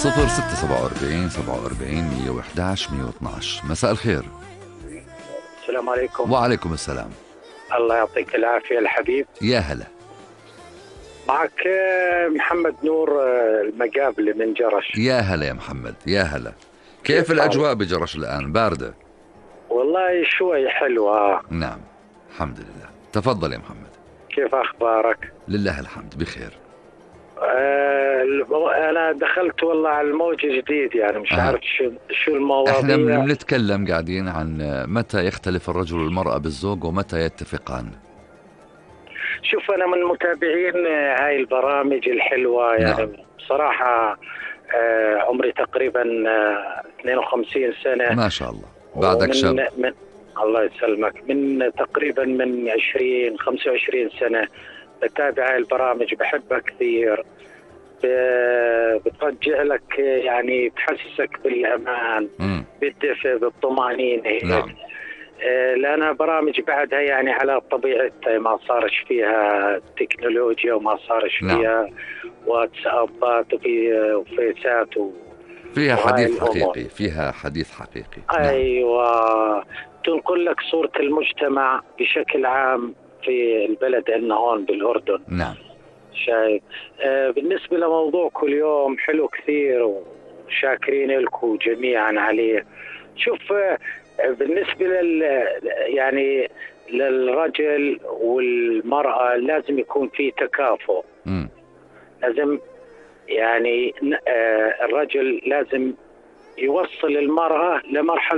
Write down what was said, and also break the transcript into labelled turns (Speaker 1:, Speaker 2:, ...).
Speaker 1: 0647 47 111 112. مساء الخير.
Speaker 2: السلام عليكم.
Speaker 1: وعليكم السلام.
Speaker 2: الله يعطيك العافية الحبيب.
Speaker 1: يا هلا.
Speaker 2: معك محمد نور المقابلي من جرش.
Speaker 1: يا هلا يا محمد، يا هلا. كيف الأجواء بجرش الآن؟ باردة؟
Speaker 2: والله شوي حلوة.
Speaker 1: نعم الحمد لله. تفضل يا محمد.
Speaker 2: كيف أخبارك؟
Speaker 1: لله الحمد بخير.
Speaker 2: أنا دخلت والله على الموج جديد، يعني مش عارف شو المواضيع.
Speaker 1: احنا بنتكلم قاعدين عن متى يختلف الرجل والمرأة بالزوج ومتى يتفقان.
Speaker 2: شوف أنا من متابعين هاي البرامج الحلوة يعني. نعم. بصراحة عمري تقريبا 52 سنة.
Speaker 1: ما شاء الله، بعدك شاب.
Speaker 2: الله يسلمك. من تقريبا من 25 سنة بتابع هاي البرامج، بحبها كثير. بترجع لك يعني، بتحسسك بالأمان، بالدفء، بالطمأنينة.
Speaker 1: نعم.
Speaker 2: لأنها برامج بعدها يعني على طبيعتها، ما صارش فيها تكنولوجيا وما صارش فيها واتسابات وفيسات
Speaker 1: فيها حديث حقيقي، فيها حديث حقيقي.
Speaker 2: أيوة. تنقل لك صورة المجتمع بشكل عام في البلد عندنا هون بالأردن.
Speaker 1: نعم.
Speaker 2: شايف. بالنسبة لموضوعكم اليوم حلو كثير وشاكرين لكم جميعا عليه. شوف بالنسبة يعني للرجل والمرأة لازم يكون في تكافؤ. لازم يعني الرجل لازم يوصل المرأة لمرحلة